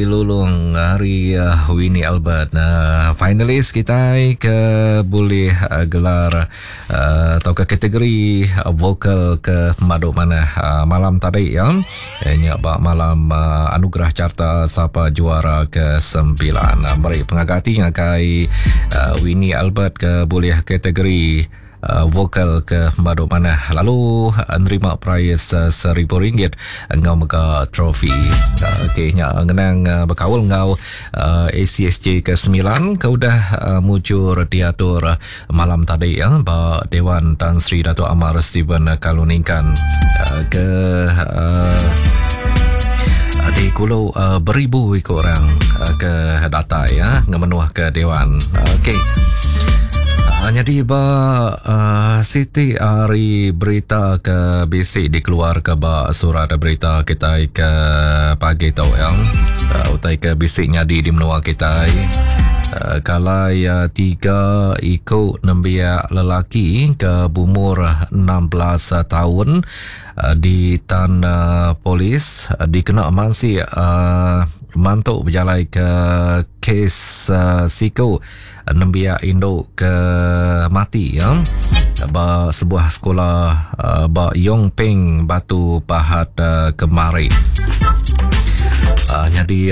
Lulung ari Winnie Albert. Finalis kitai ke bulih gelar tauka kategori vokal ke pemadu manah malam tadi ya. Nya ba malam anugerah carta sapa juara ke sembilan. Meri pengaga ati ngagai Winnie Albert ke bulih kategori vokal ke pemadu manah lalu nerima perais RM1000 enggau mega trofi. Okey nya ngenang bekaul enggau ACSJ ke 9 ke udah mujur diatur malam tadi ya ba Dewan Tan Sri Datuk Amar Stephen Kalong Ningkan ke di kulu beribu iku orang ke datai ya ngemenuh ke dewan. Okey. Nyadi ba siti ari berita ke bisi dikeluarka ba surat berita kitai ke pagi tu ya. Utai ke bisi nyadi di menua kitai. Kalai 3 iku nembiak lelaki ke bumur 16 taun ditan polis dikena mansik mantu bejalaika kes siku nembiak indu ke mati ya ba sebuah sekolah ba Yong Peng Batu Pahat kemari. Nyadi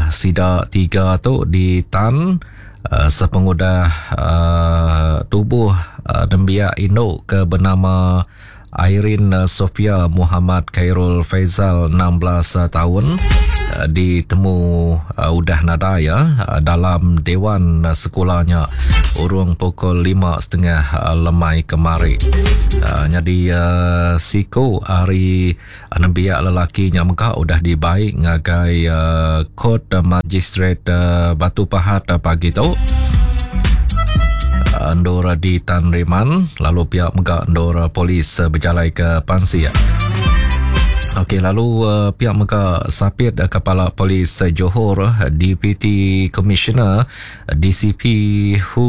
sida tiga tu ditan sepengudah tubuh nembiak indu ke benama Irene Sofia Muhammad Khairul Faizal 16 taun ditemu udah nadai ya dalam dewan sekula nya urung pukul 5.30 lemai kemari. Nyadi siku ari nembiak lelaki nya mega udah dibai ngagai Kort Magistrate Batu Pahat pagi tu. Endur di Tan Riman lalu pihak mega endur polis bejalai ke pansik. Okey lalu pihak mega sapit Kepala Polis Johor Deputy Commissioner DCP Hu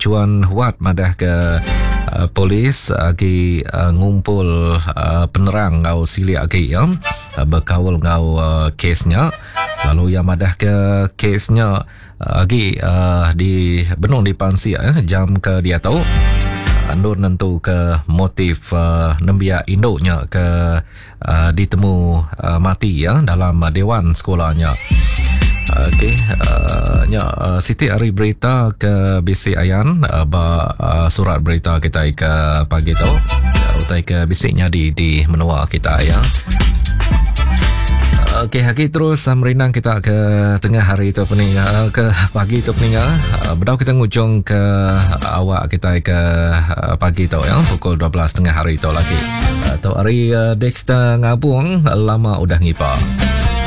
Chuan Huat madah ke polis agi ngumpul penerang enggau silik agi ya bekaul enggau kes nya lalu iya madah ke kes nya agi di benung dipansik jam ke diatu endur nentu ke motif nembiak indu nya ke ditemu mati ya dalam dewan sekolah nya. Okey, nya siti ari berita ke bisi ayan ba surat berita kitai ke pagi tu. Utai ke bisi nyadi di menua kita ya. Okey, agi terus merindang kita ke tengah hari tu peninga ke pagi tu peninga. Bedau kita ngujung ke awak kita ke pagi tu ya pukul 12 tengah hari tu lagi. Tu ari Dexter Ngabung lama udah ngipa.